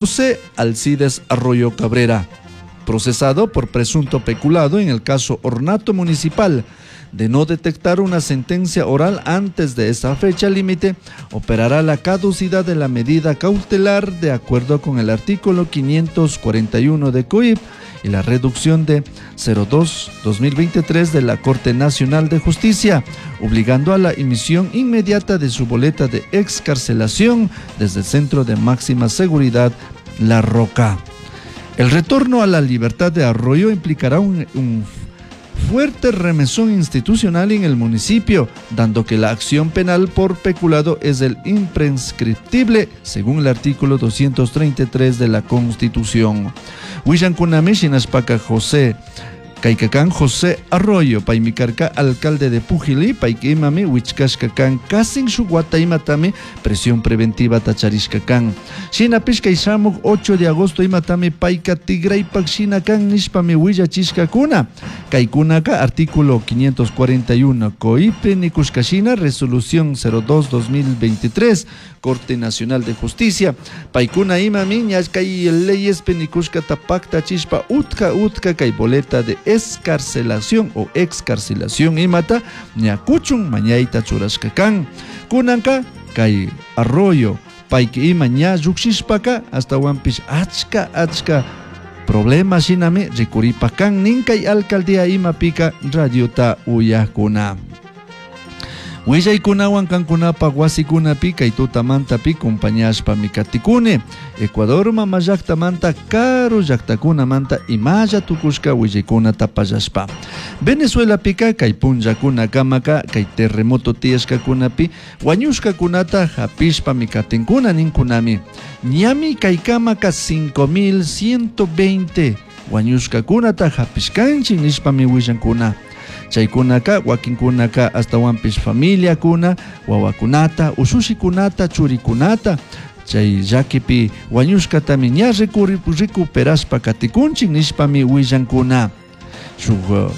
José Alcides Arroyo Cabrera, procesado por presunto peculado en el caso Ornato Municipal. De no detectar una sentencia oral antes de esa fecha límite, operará la caducidad de la medida cautelar de acuerdo con el artículo 541 de COIP y la reducción de 02-2023 de la Corte Nacional de Justicia, obligando a la emisión inmediata de su boleta de excarcelación desde el Centro de Máxima Seguridad La Roca. El retorno a la libertad de Arroyo implicará un fuerte remesón institucional en el municipio, dando que la acción penal por peculado es el imprescriptible, según el artículo 233 de la Constitución. Willankunami shinashpaka José Kayka kan José Arroyo, paymi karka alcalde de Pujilí, payka imami wichkashka kan kasin shuk wata imatami prisión preventiva charishka kan. Shinapish kay shamuk 8 de agosto imatami payka tigraypak shina kan nishpami willachishkakuna. Kaykunaka artículo 541 COIP nikushka shina resolución 02-2023 Corte Nacional de Justicia. Paykuna imami ña kay leyespi nikushkata paktachishpa utka utka kay boleta de excarcelación o excarcelación imata ña kuchun mañayta churashka kan. Kunanka kay Arroyo payka ima ña llukshishpaka ashtawanpish achka achka problema shinami rikuripak kan nin kay alcaldía imapika radiota uyakuna. Willaykunawan kankunapak wasikunapi kay tutamantapi compañashpami katikuni. Ecuador mama llaktamanta karu llaktakunamanta imalla tukushka willaykunata pallashpa. Venezuelapika kay punllakunakamaka kay terremoto tiyashkakunapi wañushkakunata hapishpami katinkuna ninkunami. Ñami kaykamaka 5120 wañushkakunata hapishkanchik nishpami willankuna. Chaykunaka wakinkunaka ashtawanpish familiakuna, wawakunata, ushushikunata, churikunata, chay llakipi wañushkatami ña recuperashpa katikunchik nishpami willankuna. Shuk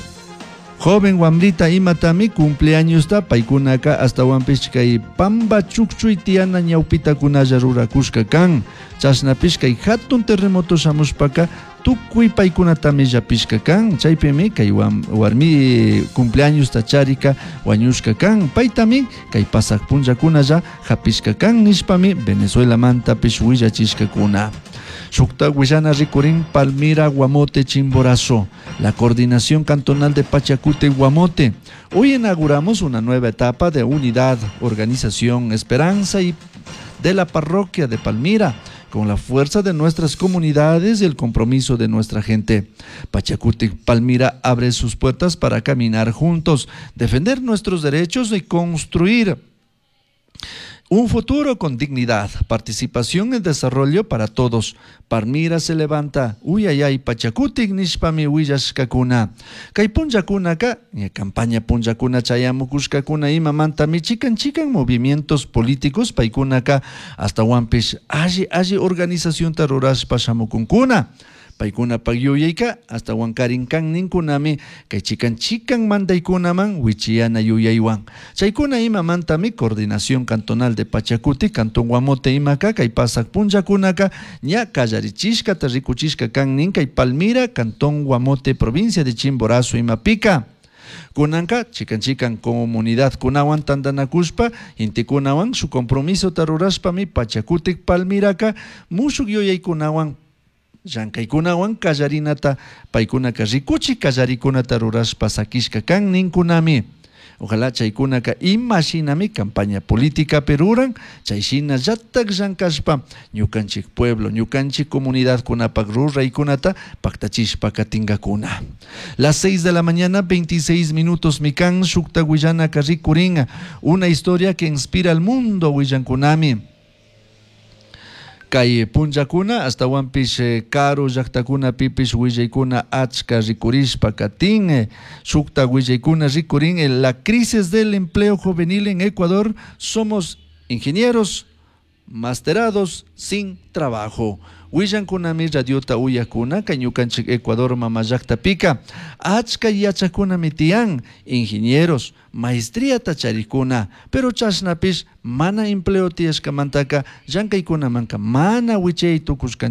joven wamrita imatami cumpleañosta paykunaka ashtawanpish kay pamba chukchuy tiyana ñawpitakunalla rurakushka kan. Chashnapish kay hatun terremoto shamushpaka tukuy paykunatami llapishka kan. Chaypimi kay warmi cumpleañosta charika wañushka kan. Paytami kay pasak punllakunalla hapishka kan nishpami Venezuelamantapish willachishkakuna. Shukta willana rikurin Palmira, Guamote, Chimborazo. La coordinación cantonal de Pachacute y Guamote. Hoy inauguramos una nueva etapa de unidad, organización, esperanza y de la parroquia de Palmira, con la fuerza de nuestras comunidades y el compromiso de nuestra gente. Pachacuti Palmira abre sus puertas para caminar juntos, defender nuestros derechos y construir un futuro con dignidad, participación en desarrollo para todos. Palmira se levanta, uy ay ay, Pachacutic nishpami willashkakuna. Kay punllakunaka, ña campaña punllakuna chayamukushkakuna imamantami chikan chikan movimientos políticos paykunaka ashtawanpish alli alli organizacionta rurashpa shamukunkuna. Paykunapak yuyayka ashtawankarin kan ninkunami kay chikan chikan mandaykunaman wichiyana yuyaywan. Chaykuna imamantami coordinación cantonal de Pachacuti, Cantón Guamote imaka kay pasak punllakunaka ña kallarichishkata rikuchishka kan nin kay Palmira, Cantón Guamote, provincia de Chimborazo imapika. Kunanka, chikan chikan comunidad kunawan tantanakushpa, intikunawan su compromiso tarurashpami Pachacutic Palmiraka mushuk yuyaykunawan llankaykunawan kallarinata paykunaka rikuchi kallarikunata rurashpa sakishka kan ninkunami. Ojalá chaykunaka imashinami campaña política peruran, chayshina llatak llankashpa ñukanchik pueblo, ñukanchik comunidad kunapak ruraykunata paktachishpa katingakuna. Las 6 de la mañana, 26 minutos, mikan shukta willanaka rikurin, una historia que inspira al mundo willankunami. Kay punllakuna ashtawanpish karu llaktakuna pipish willaykuna achka rikurishpa katin, shukta willaykuna rikurin, la crisis del empleo juvenil en Ecuador, somos ingenieros, Masterados sin trabajo. Huillancunami radiota uyajcuna ñucanchij Ecuador mama llajtapika achca yachajcunami tiyan ingenieros maestriata charijcuna pero chashnapish mana empleo tiyashkamantaka llankaykunamanka mana wichay tukushkanchik.